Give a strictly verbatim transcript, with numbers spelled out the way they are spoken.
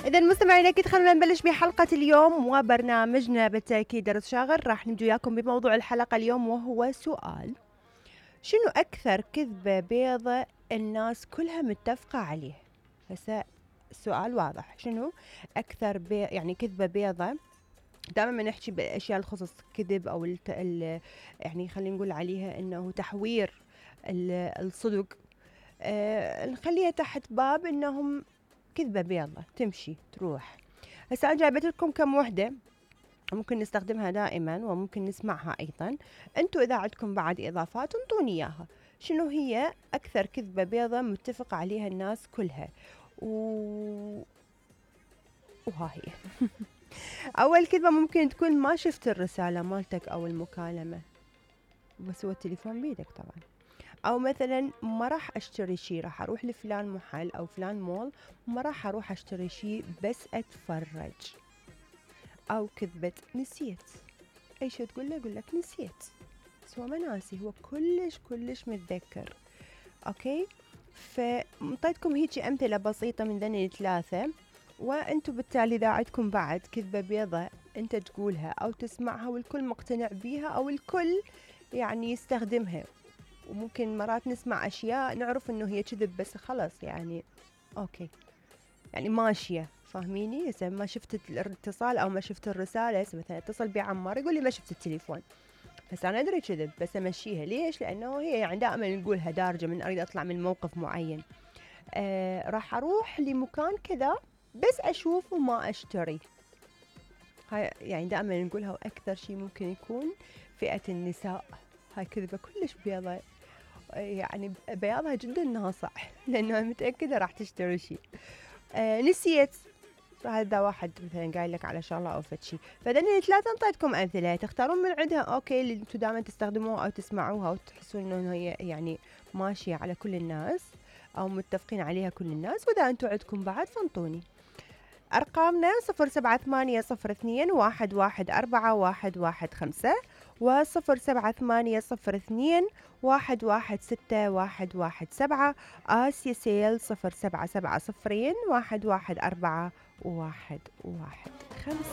إذا مستمعينا أكيد خلونا نبلش بحلقة اليوم وبرنامجنا بالتأكيد درس شاغر. راح نبدو وياكم بموضوع الحلقة اليوم وهو سؤال: شنو أكثر كذبة بيضة الناس كلها متفقة عليه؟ هسه السؤال واضح، شنو أكثر بي يعني كذبة بيضة؟ دائما ما نحكي بالأشياء الخصوص كذب أو الت... ال... يعني خلينا نقول عليها إنه تحوير الصدق، أه نخليها تحت باب إنهم كذبة بيضة تمشي تروح. هسه أنا جايبت لكم كم وحدة ممكن نستخدمها دائما وممكن نسمعها أيضا. أنتوا إذا عندكم بعد إضافات انطوني إياها. شنو هي أكثر كذبة بيضة متفق عليها الناس كلها؟ و... وها هي. أول كذبة ممكن تكون ما شفت الرسالة مالتك أو المكالمة، بس هو التليفون بيدك طبعا. او مثلا ما راح اشتري شي، راح اروح لفلان محل او فلان مول، ما راح اروح اشتري شي بس اتفرج. او كذبة نسيت، اي شي تقول له يقول لك نسيت، بس هو ما ناسي، هو كلش كلش متذكر. اوكي، فمطيتكم هيجي امثلة بسيطة من ذني الثلاثة، وانتم بالتالي اذا عندكم بعد كذبة بيضة انت تقولها او تسمعها والكل مقتنع بيها او الكل يعني يستخدمها، وممكن مرات نسمع أشياء نعرف إنه هي كذب بس خلص يعني أوكي يعني ماشية، فاهميني؟ إذا ما شفت الاتصال أو ما شفت الرسالة، مثلا اتصل بعمار يقول لي ما شفت التليفون، بس أنا أدري كذب بس أمشيها. ليش؟ لأنه هي يعني دائما نقولها دارجة من أريد أطلع من موقف معين. آه راح أروح لمكان كذا بس أشوف وما أشتري. هاي يعني دائما نقولها، وأكثر شيء ممكن يكون فئة النساء. هاي كذبة كلش بيضة، يعني بياضها جدا ناصع لأنه متأكدة راح تشتري شيء. آه نسيت، هذا واحد مثلا قايل لك على شغلة أو فد شيء. فدني ثلاثة انطيتكم أمثلة تختارون من عندها أوكي اللي انتم دائما تستخدموها أو تسمعوها وتحسون إنه هي يعني ماشية على كل الناس أو متفقين عليها كل الناس. وإذا انتم عندكم بعد فانطوني. أرقامنا صفر سبعة ثمانية صفر اثنين واحد واحد أربعة واحد واحد خمسة وصفر سبعة ثمانية صفر اثنين واحد واحد ستة واحد واحد سبعة. آسيا سيل صفر سبعة سبعة صفرين واحد واحد أربعة واحد واحد خمسة.